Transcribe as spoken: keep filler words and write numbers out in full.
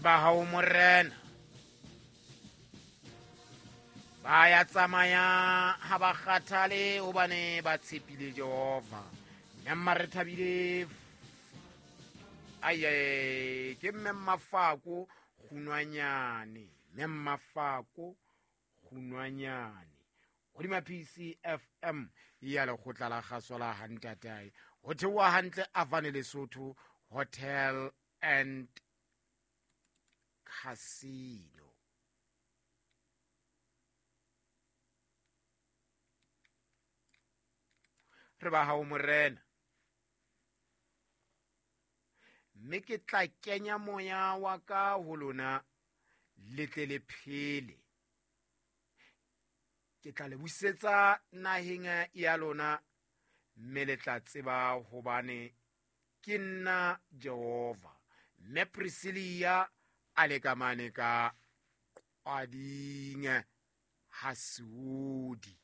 Ba hao morena ba ya tsamaya ha ba kgathale hobane ba tshepile Jehova. Mme mma re thabile aye ke mme Mafako Kgunwanyane, mme Mafako Kgunwanyane hodima P C F M ya lekgotla la kgaso la Hantatae. Ho theoha hantle Avane Lesotho Hotel and Casino. Re ba hao morena, mme ke tla kenya moya wa ka ho lona le tle le phele. Ke tla le busetsa naheng ya lona, mme le tla tseba hobane ke nna Jehova. Mme Priscilla a le ka mane ka Qwading ha Seodi.